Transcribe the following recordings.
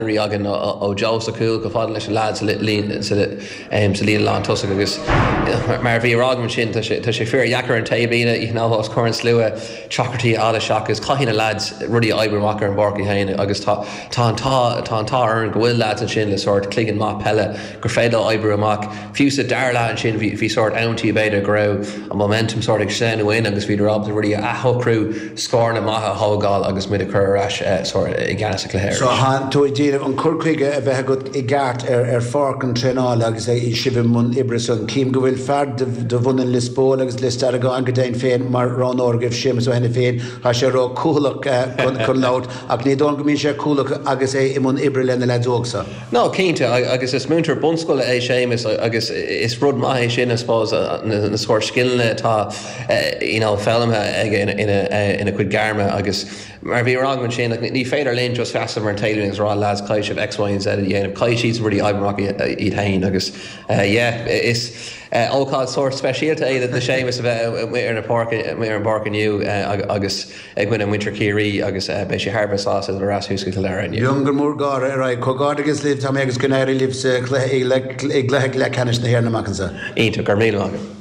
Imreoirí againn ó Joe sa chúl chomh fada leis na leaids sa líne lán tosaigh agus mar a bhí á rá agam ansin tá sé tá sé fíor dheacair an taobhlíne you know os comhair an slua teachtaireachtaí a fháil isteach agus caithfidh na leaids rudaí a oibriú amach ar an bpáirc iad féin agus tá tá an t-ádh tá an t-ádh orainn go bhfuil leaids ansin le sórt cloigeann maith peile gur féidir leo oibriú amach. Fiú sa dara leath ansin bhí bhí sórt amantaí b'fhéidir go raibh an momentum sórt ag sleamhnú uainn agus bhíodar ábalta rudaí a athshocrú, scóranna maithe a thógáil agus muid a chur ar ais sórt i gceannas an chluiche So arís. tá tú ag déanamh an cur chuige a bheith agat i gceart ar ar pháirc an traenála agus sibh i mbun oibre san. Cím go bhfuil fear de de bhunadh Lios Póil agus Lios Deargáin go deimhin féin mar roghnóir agaibh, Séamus Ó hAiniféin. Tá sé ró cúthaileach chun chun labhairt ach ní dóigh liom go mbíonn sé cúthaileach agus é i mbun oibre le na leaids óg so. No, cinnte, agus is múinteoir bunscoile é Séamus agus is rud maith é sin, I suppose, na sórt scileanna atá you know foghlamtha aige ina chuid gairme agus mar a bhí á rá agam ansin, like ní féidir linn just seasamh ar an taobhlíne agus rá lads caithfidh sibh X, Y and Z a dhéanamh, caithfidh siad rudaí a oibriú amach iad féin agus yeah, is ócáid sórt speisialta é do Séamus a bheith amuigh ar na páirc, amuigh ar an bpáirc inniu agus. i gcoinne muintir Chiarraí agus beidh sé thar a bheith sásta dul ar ais thuas go Cill Dara inniu. Iongar mór gáire ar aghaidh. Comhghairdeachas libh, Tommy agus go n-éirí libh sa chluiche i gcluiche leathcheannais na hÉireann amach anseo. Iontach, go raibh míle maith agat.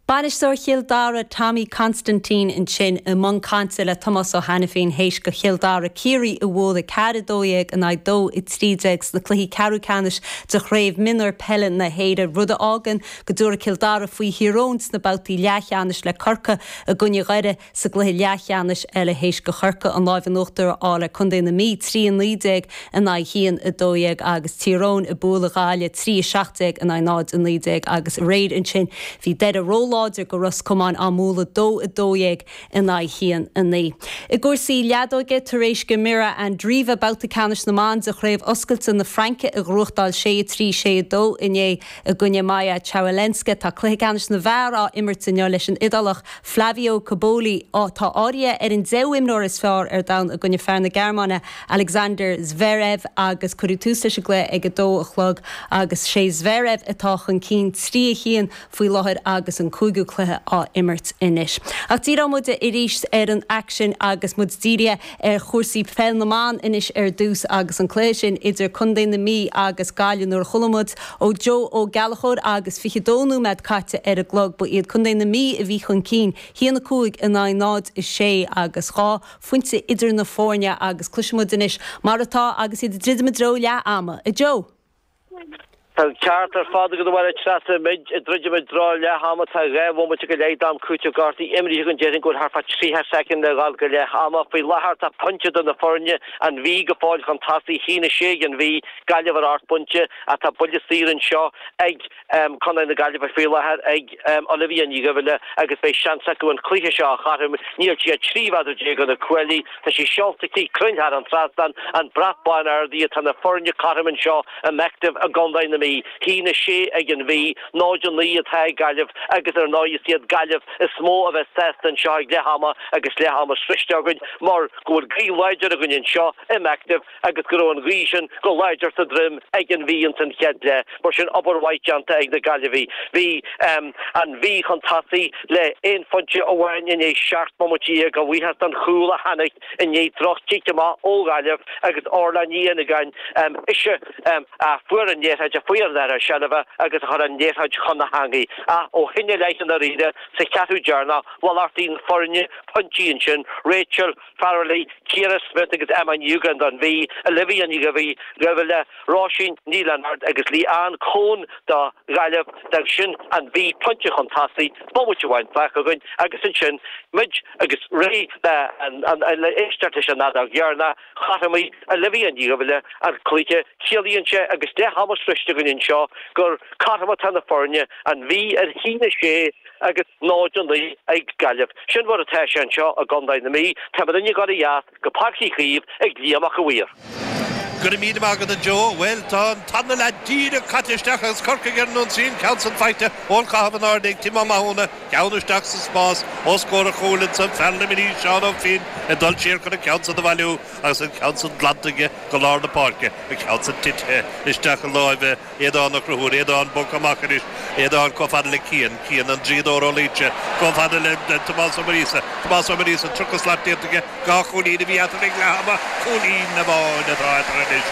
Bainisteoir Chill Dara Tommy Constantine ansin i mbun cainte le Tomás Ó hAiniféin théis do Chill Dara Ciarraí a bhualadh 4-12 in aghaidh 2-13 sna cluichí ceathrú ceannais de Chraobh Mionúir Peile na hÉireann, rud a fhágann go dtabharfaidh Cill Dara faoi Thír Eoghain sna babhtaí leathcheannais le Corcaigh i gcoinne Dhoire Sa gcluiche leathcheannais eile théis do Chorcaigh an láimh in uachtar a fháil ar Contae na Mí, 3, 19 in aghaidh 1, 12, agus Tír Eoghain ag bualadh Ghaillimh, 3, 17 in aghaidh 0, 19, agus aréir ansin bhí Doire róláidir do Ros Comáin á mbualadh 2, 12 in aghaidh 1, 9. I gcúrsaí leadóige, tar éis do Mirra Andreeva babhta ceannais na mban de Chraobh Oscailte na Fraince a ghnóthachtáil 6, 3, 6, 2 inné i gcoinne Maja Chwalinska, tá cluiche ceannais na bhfear á imirt inniu leis an Iodálach Flavio Cobolli, atá áirithe ar an deichiú imreoir is fearr ar domhan i gcoinne fear na Gearmáine, Alexander Zverev agus cuireadh tús leis an gcluiche ag 2 a chlog agus sé Zverev atá chun cinn 3 1 faoi láthair agus an cúigiú cluiche á imirt anois. Ach díreoidh muid arís ar an aicsean agus muid dírithe ar chúrsaí peil na mban anois ar dtús agus an cluiche sin idir Contae na Mí agus Gaillimh nuair a chuala muid ó Joe Ó Gallchóir agus 22 nóiméad caite ar an gclog ba iad Contae na Mí a bhí chun cinn, 1-5 in aghaidh 0-6 agus dhá phointe idir na foirne agus cloisfidh muid anois mar atá agus iad ag druidim i dtreo leath ama. A Joe! Tá an ceart ar fad agat a Mháire Treasa. Muid ag druidim i dtreo leath ama. Tá 2 bhomaite go leith d'am cúitimh gortaithe imrithe againn. Déarfainn go bhfuil thart fá 30 soicind le dhul go leath ama. Faoi láthair tá pointe idir na foirne, an Mhí go fóill chun tosaigh, 1-6 ag an Mhí, Gaillimh ar 8 bpointe ach tá buille saor anseo ag Contae na Gaillimhe faoi láthair ag Olivia Ní Dhuibhile agus beidh seans acu an cluiche seo a chothromú. Níl sí ach 13 mhéadar ó na cuaillí. Tá sí seolta aici cruinn thar an trasnán, an brat bán ardaithe. Tá na foirne cothrom anseo i Bective i gContae na Mí. 1-6 ag an Mhí, 0-9 atá ag Gaillimh agus ar ndóigh is iad Gaillimh is mó a bheas sásta anseo ag leath ama agus leath ama sroichte againn mar go bhfuil gaoth láidir againn anseo i mBective agus go raibh an ghaoth sin go láidir sa droim ag an Mhí ins an chéad leath. Mar sin, obair mhaith déanta ag na Gaillimhigh. Bhí an Mhí chun tosaigh le aon phointe amháin i ndiaidh 17 bomaite, a bhuíochas don chúl a tháinig i ndiaidh droch-chic amach ó Ghaillimh agus Orla Ní Fhinneagáin, ise a fuair an liathróid, a fuair an dara seilbhe agus a chuir an liathróid chun na heangaí. Ach ó shin i leith i ndáiríre, sa cheathrú deireanach, mhalartaigh na foirne pointí ansin, Rachel Farrelly, Ciara Smyth agus Emma Ní Dhúgáin don Mhí, Olivia Ní Dhuibhile, Róisín Ní Lionáird agus Leanne Coen do Ghaillimh. D'fhág sin an Mhí pointe chun tosaigh, bomaite amháin fágtha againn agus ansin muid agus réidh le éisteacht leis an fheadóg dheireanach, chothromaigh Olivia Ní Dhuibhile an cluiche. Ciallaíonn sé agus leath ama sroichte againn anseo gur cothrom atá na foirne, an Mhí ar 1-6 agus 0-9 ag Gaillimh. Sin mar atá sé anseo i gContae na Mí. Tá muid ag gabháil ó dheas go Páirc Uí Chaoimh ag Liam Mac a' Mhaoir. Go raibh míle maith agat a Joe. Bhuel, tá an tarna leath díreach caite isteach agus Corcaigh ar an ionsaí, an ceann san faighte ón chaitheamh in airde ag Tim Ó Mathúna, ceann isteach sa spás os comhair an chúil ansan, fear Luimnigh, Seán Ó Finn ag dul siar chun an ceann san a bhailiú agus an ceann san glanta aige go lár na páirce, an ceann san titithe isteach i láimhe Aodán Ó Conchúir, Aodán bogtha amach anois, Aodán chomh fada le Cian, Cian an draíodóir ó Laoise, chomh fada le Tomás Ó Muiríosa, Tomás Ó Muiríosa, 30 slat déanta aige, dhá chúilín a bhí eatarthu ag leath ama, cúilín amháin atá eatarthu. anois.